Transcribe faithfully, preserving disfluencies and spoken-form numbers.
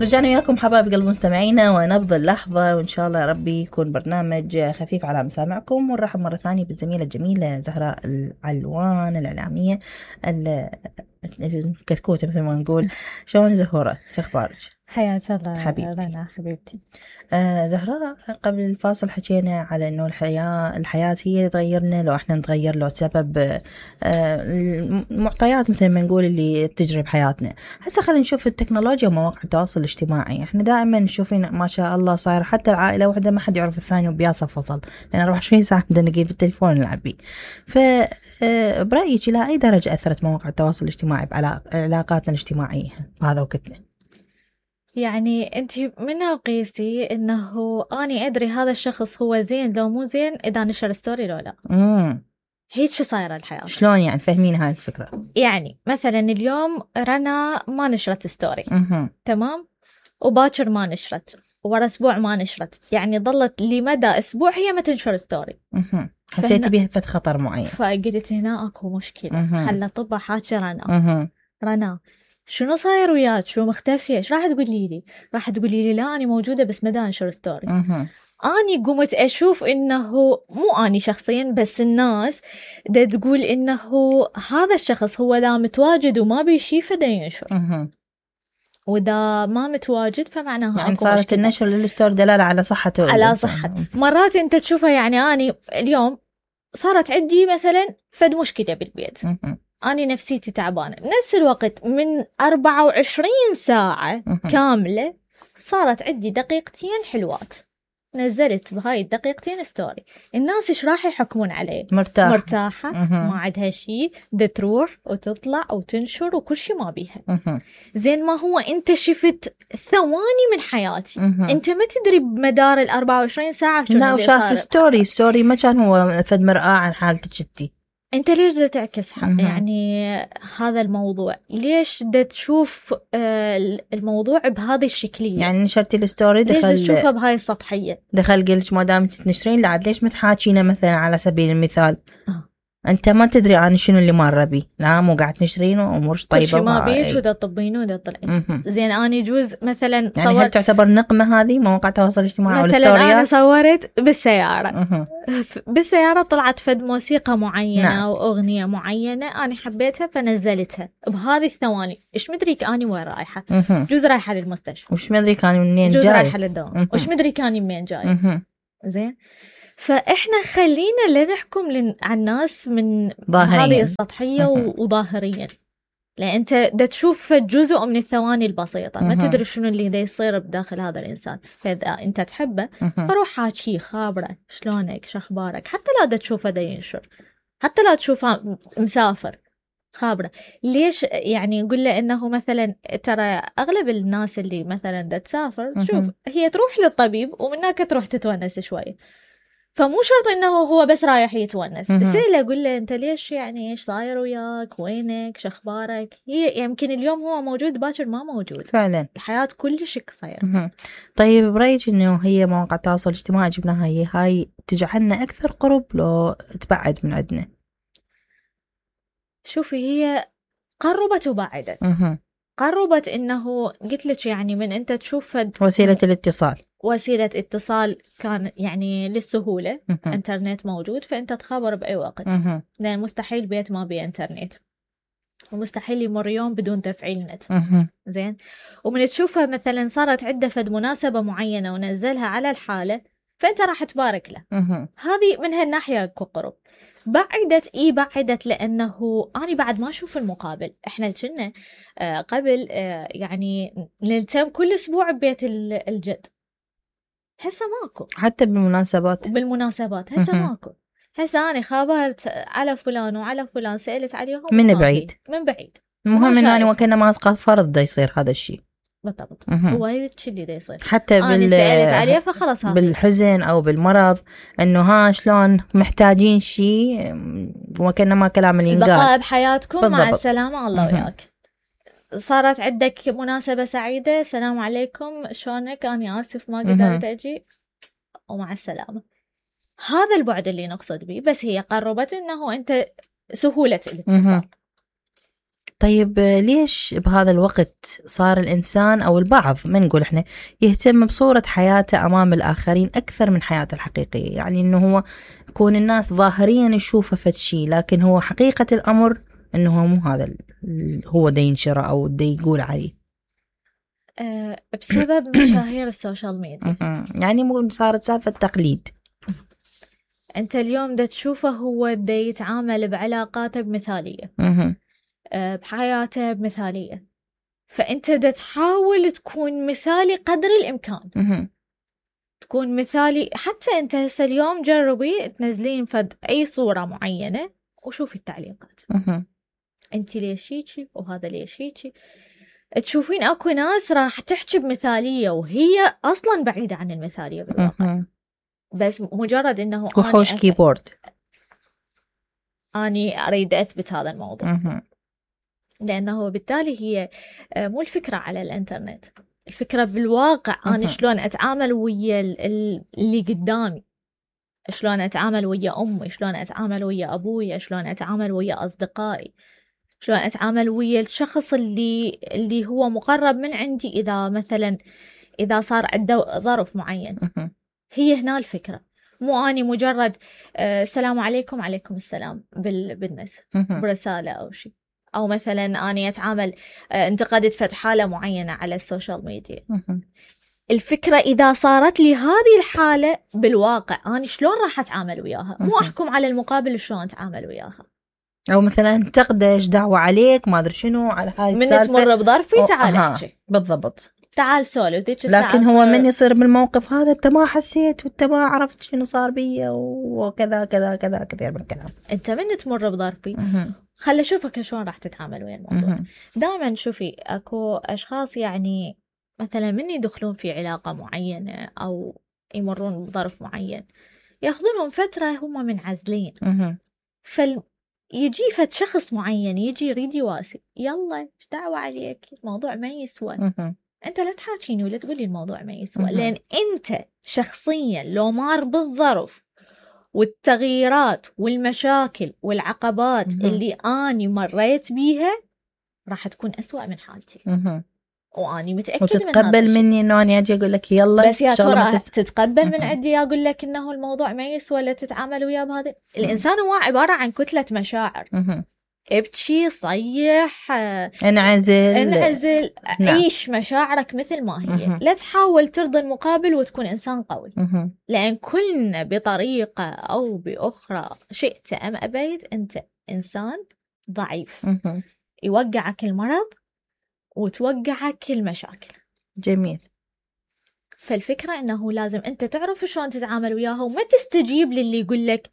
رجعنا وياكم حبايب قلب مستمعينا ونبض اللحظة، وإن شاء الله يا ربي يكون برنامج خفيف على مسامعكم. ونرحب مرة ثانية بالزميلة الجميلة زهراء العلوان الإعلامية الكتكوتة مثل ما نقول. شلون زهورة؟ شو أخبارك؟ حياك الله حبيبتي. رنا حبيبتي. آه زهراء، قبل الفاصل حكينا على إنه الحياة الحياة هي اللي تغيرنا لو إحنا نتغير، لو سبب آه المعطيات مثل ما نقول اللي تجري بحياتنا. هسه خلينا نشوف التكنولوجيا ومواقع التواصل الاجتماعي. إحنا دائما نشوفين ما شاء الله صاير حتى العائلة واحدة ما حد يعرف الثاني وبياصة فصل، لأن أربعة وعشرين ساعة بدنا نجيب التليفون نلعب بيه. ف برأيك إلى أي درجة أثرت مواقع التواصل الاجتماعي بعلاقاتنا الاجتماعية بهذا وقتنا؟ يعني أنت منها قيسي إنه أنا أدري هذا الشخص هو زين لو مو زين إذا نشر ستوري لو لا. امم هيك صايرة الحياة. شلون يعني؟ فهمين هاي الفكرة. يعني مثلا اليوم رنا ما نشرت ستوري، امم تمام، وباكر ما نشرت، ورا أسبوع ما نشرت، يعني ظلت لمدى أسبوع هي ما تنشر ستوري. امم حسيتي بها فت خطر معين؟ فقلت هنا أكو مشكلة. خلى طبها حاكي رنا. امم رنا شنو صاير وياك؟ شو مختفية؟ ايش راح تقولي لي؟ راح تقولي لي لا أنا موجودة بس ما دا انشر ستوري. امم أني قمت أشوف إنه مو أني شخصيا بس الناس دا تقول إنه هذا الشخص هو لا متواجد وما بيشي فدا ينشر، امم وإذا ما متواجد فمعناها يعني أكو صارت مشكلة. النشر للستوري دلالة على صحته على صحة. مرات أنت تشوفها، يعني أني اليوم صارت عندي مثلا فد مشكلة بالبيت، امم أنا نفسيتي تعبانة، بنفس الوقت من أربعة وعشرين ساعة كاملة صارت عندي دقيقتين حلوات، نزلت بهاي الدقيقتين ستوري. الناس إيش راح يحكمون عليه؟ مرتاح. مرتاحة، مه. ما عندها شيء، ده تروح وتطلع وتنشر وكل شيء ما بيها. مه. زين ما هو أنت شفت ثواني من حياتي، مه. أنت ما تدري بمدار الأربعة وعشرين ساعة شنو لا، اللي وشاف صار. ستوري ستوري ما كان هو فد مرآة عن حالتك انتي. انت ليش دا تعكس حق مه. يعني هذا الموضوع؟ ليش دا تشوف آه الموضوع بهذه الشكلية؟ يعني نشرتي الستوري ليش دخل دا تشوفها بهاي السطحية؟ دخل قلت ما دام تنشرين لعد ليش متحاكينا مثلا على سبيل المثال؟ آه. انت ما تدري عن شنو اللي مر بي، لا مو قاعد تنشرين وامورش طيبه كل شيء ما وهاي. بيك ودا تطبين ودا طلعين. مه. زين انا يجوز مثلا يعني هل تعتبر نقمه هذه مواقع التواصل الاجتماعي مثلا والستوريات؟ انا صورت بالسيارة مه. بالسيارة طلعت فد موسيقى معينة نعم. واغنية معينة انا حبيتها فنزلتها بهذه الثواني. ايش مدريك اني وين رايحة؟ مه. جوز رايحة للمستشفى، وش مدري كان منين جوز جاي، رايحة للدوام، وش مدري كاني منين جاي. مه. زين، فإحنا خلينا لا نحكم لن... عن الناس من ظاهرياً. هذه السطحية وظاهريا، لأن أنت دا تشوف جزء من الثواني البسيطة، ما تدري شنو اللي دا يصير بداخل هذا الإنسان. فإذا أنت تحبه فروح حاكي خابره شلونك شخبارك، حتى لا دا تشوفه دا ينشر، حتى لا تشوفه مسافر خابره. ليش يعني نقول له إنه مثلا ترى أغلب الناس اللي مثلا دا تسافر شوف هي تروح للطبيب ومنك تروح تتونس شوية، فمو شرط انه هو بس رايح يتونس. بس اللي اقول له انت ليش يعني ايش صاير وياك، وينك شخبارك. هي يمكن اليوم هو موجود باكر ما موجود فعلا، الحياة كل شيء صاير. طيب برأيك انه هي مواقع التواصل الاجتماعي جبناها هي هاي تجعلنا اكثر قرب لو تبعد من عندنا؟ شوفي هي قربت وبعدت. مه. قربت انه قلت لك يعني من انت تشوف وسيلة الاتصال وسيلة اتصال كان يعني للسهولة. مه. انترنت موجود فانت تخبر باي وقت، مه. لان مستحيل بيت ما بيه انترنت، ومستحيل يمر يوم بدون تفعيل نت. مه. زين، ومن تشوفها مثلا صارت عدة فد مناسبة معينة ونزلها على الحالة فأنت راح تبارك له. مه. هذه من هالناحية قرب. بعدت إيه بعدت لأنه أنا بعد ما أشوف المقابل. إحنا كنا آه قبل آه يعني نلتم كل أسبوع ببيت الجد، هسه ماكو. حتى بالمناسبات بالمناسبات هسه ماكو. هسه أنا خابرت على فلان وعلى فلان، سألت عليهم من بعيد من بعيد. المهم إنه أنا وكأنه ما أسقط فرض دا يصير هذا الشيء. بالضبط، هو هذا اللي دا يصير. حتى بال سألت عليه فخلص بالحزن أو بالمرض إنه ها شلون محتاجين شيء وكأنه ما كلام اللي ينقال. بقاء بحياتكم بالضبط. مع السلامة الله وياك. صارت عندك مناسبة سعيدة، السلام عليكم شلونك، أنا آسف ما قدرت أجي ومع السلامة. هذا البعد اللي نقصد به. بس هي قربت إنه أنت سهولة الاتصال. طيب ليش بهذا الوقت صار الإنسان أو البعض، ما نقول إحنا، يهتم بصورة حياته أمام الآخرين أكثر من حياته الحقيقية؟ يعني إنه هو يكون الناس ظاهريا يشوفه فد شيء، لكن هو حقيقة الأمر إنه هو مو هذا هو دا ينشره أو دا يقول عليه. أه بسبب مشاهير السوشيال ميديا. يعني مو صارت سالفة تقليد. أنت اليوم دا تشوفه هو دا يتعامل بعلاقاته بمثالية، أه بحياته بمثالية، فأنت دا تحاول تكون مثالي قدر الإمكان. تكون مثالي. حتى أنت هسه اليوم جربي تنزلين فد أي صورة معينة وشوفي التعليقات. أنت ليش هيك وهذا ليش هيك. تشوفين أكو ناس راح تحكي بمثالية وهي أصلا بعيدة عن المثالية بالواقع، بس مجرد إنه وحوش كيبورد أني أريد أثبت هذا الموضوع. لأنه بالتالي هي مو الفكرة على الإنترنت، الفكرة بالواقع أنا شلون أتعامل ويا اللي قدامي، شلون أتعامل ويا أمي، شلون أتعامل ويا أبوي، شلون أتعامل ويا أصدقائي، شلون أتعامل ويا الشخص اللي اللي هو مقرب من عندي. إذا مثلا إذا صار عنده ظرف معين، هي هنا الفكرة. مو أني مجرد آه السلام عليكم عليكم السلام بالناس برسالة أو شيء، أو مثلا أني أتعامل آه انتقدت فتح حالة معينة على السوشيال ميديا. الفكرة إذا صارت لي هذه الحالة بالواقع أنا شلون راح أتعامل وياها، مو أحكم على المقابل شلون أتعامل وياها. أو مثلا تقدش دعوة عليك ما أدري شنو على هاي السالفة، من تمر بظرفي تعال احكي بالضبط، تعال سولف. لكن هو من يصير بالموقف هذا أنت ما حسيت وأنت ما عرفت شنو صار بي وكذا كذا كذا كثير من الكلام. أنت من تمر بظرفي خلي أشوفك شلون راح تتعامل ويا الموضوع. دائما شوفي أكو أشخاص يعني مثلا من يدخلون في علاقة معينة أو يمرون بظرف معين ياخذونهم فترة هم منعزلين، فال يجي فد شخص معين يجي يريد يواسي، يلا ايش دعوة عليك، الموضوع ما يسوى. انت لا تحاكيني ولا تقولي الموضوع ما يسوى، لان انت شخصيا لو مار بالظرف والتغييرات والمشاكل والعقبات اللي اني مريت بيها راح تكون أسوأ من حالتي. واني متاكد وتتقبل من مني انه اني اجي اقول لك يلا، بس يا ترى تس... تتقبل من عندي اقول لك انه الموضوع ما يسوى لا تتعامل وياه بهذا. الانسان هو عباره عن كتله مشاعر، ابتشي صيح انعزل انعزل عيش مشاعرك مثل ما هي. لا تحاول ترضي المقابل وتكون انسان قوي، لان كلنا بطريقه او باخرى شئت ام ابيت انت انسان ضعيف، يوقعك المرض وتوقعك المشاكل. جميل. فالفكرة إنه لازم أنت تعرف شلون تتعامل وياها وما تستجيب للي يقول لك